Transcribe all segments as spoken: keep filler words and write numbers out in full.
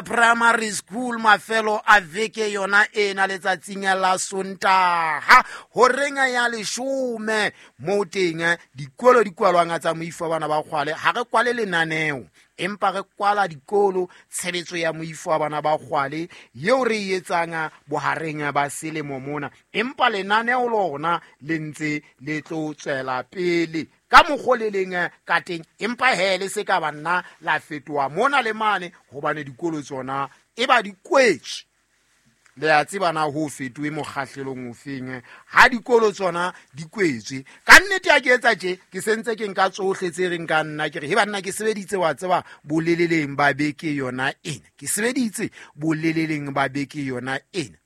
Primary School mafelo a veke yona ena letsatsing la Sontaha horeng ya leshome mo teng dikolo di kwalwang tsa moifo wa bana ba kgwale. Ha re kwale lenaneo, empa re kwala dikolo tshebetso ya moifo wa bana ba kgwale yeo re e etsang bohareng ba selemo mona, empa lenaneo lona le ntse le tlo tswela pele ka mokgo le leng ka teng, empa he le se ka ba nna la fetoha mona le mane hobane dikolo tsona e ba di kwetswe. Le a tseba na ho fetohe mokgahlelong ofeng ha dikolo tsona di kwetswe. Ka nnete ha ke etsa tje, ke sentse ke nka tsohle tse reng ka nna ke re he banna ke sebeditse wa tseba boleleleng ba beke yona ena, ke sebeditse boleleleng ba beke yona ena,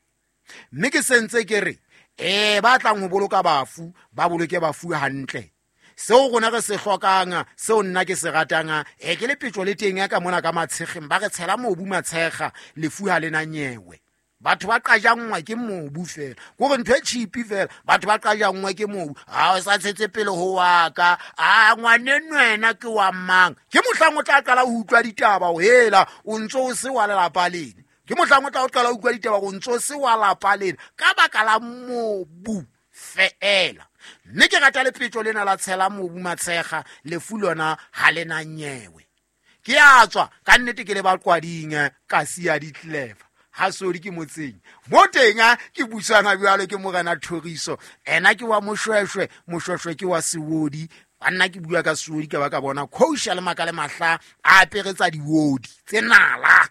mme ke sentse ke re eh ba tlang ho boloka bafu ba boloke bafu hantle. Seo rona re se hlokang, seo nna ke se ratang, e ke lepetjo le teng ka mona ka matshegeng ba re tshela mobu matshega, lefu ha le na nyewe. Batho ba qajangwa ke mobu fela, kore ntho e cheap fela, batho ba qajangwa ke mobu. Ha o sa tshetse pele ho wa ka, a ngwaneno wena ke wa mang? Ke mohlang o tla qala ho utlwa ditaba ho hela o ntso o se wa lelapa lena. Ke mohlang o tla qala ho utlwa ditaba o ntso o se wa lapa lena ka baka la mobu feela. Mme ke rata lepetjo lena la tshela mobu matshega, lefu lona ha le na nyewe. Ke a tswa ka nnete ke le ba qwading ka siya di-clever ha sodi ke motseng mo teng ke busana jwalo ke morena Thoriso, ena ke wa Moshweshwe, Moshweshwe ke wa Sewodi. Banna ke bua ka Sewodi ka ba ka bona khousha le maka le mahla a aperetsa diwodi tse nala.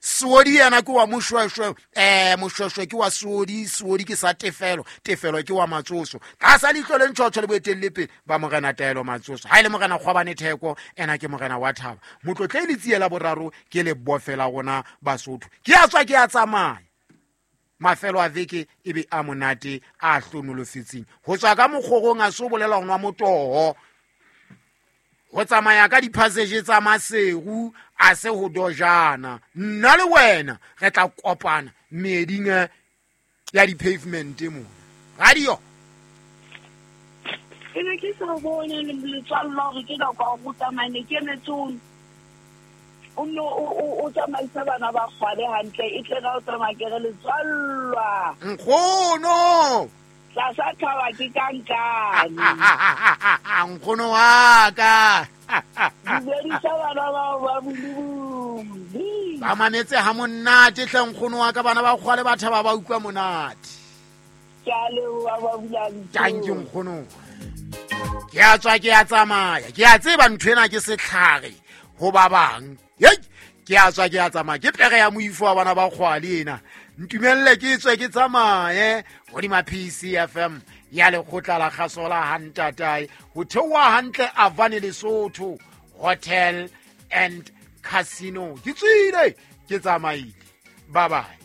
Sewodi yena ke wa Moshweshwe, eh Moshweshwe ke wa Sewodi, Sewodi ke sa Tefelo, Tefelo ke wa Matsoso. Tlasa leihlo le ntjhotjho le boetelle pele ba morena Taelo Matsoso. Ha ile morena Kgwabane Theko, ena ke morena wa Thaba. Motlotle le tsiela boraro ke le bofela rona Basotho. Ke a tswa ke a tsamaya. Mafelo a veke e be a monate a hlonolofetseng. Ho tswa ka mokgorong a so bolela ho nwa motoho. Ho tsamaya ka di-passage tsa Maseru a se ho dojana. Nna le wena re tla kopana meeding ya di-pavement mona. Radio. Ke ne ke sa bone letswalo la hore ke nako ya ho tsamaya, ne ke emetse o o nno o tsamaise bana ba kgwale hantle, e tle ka o tsamaya ke re letswallwa. Nkgono! Tlasa thaba ke ka nkane. Nkgono wa ka. Dumedisa bana bao ba Bulibuli. Ba mametse ha monate hle nkgono wa ka, bana ba kgwale ba thaba ba utlwa monate. Ke a leboha ba bula. Thank you nkgono. Ke a tswa ke a tsamaya. Ke a tseba ntho ena ke setlhare ho ba bang. Hei, ke a tswa ke a tsamaya. Ke pere ya moifo wa bana ba kgwale ena. Ntumelle ke tswe ke tsamaye hodima P C F M ya lekgotla la kgaso la Hantatae ho theoha hantle Avane Lesotho Hotel and Casino. Ke tswile ke tsamaile. Bye bye.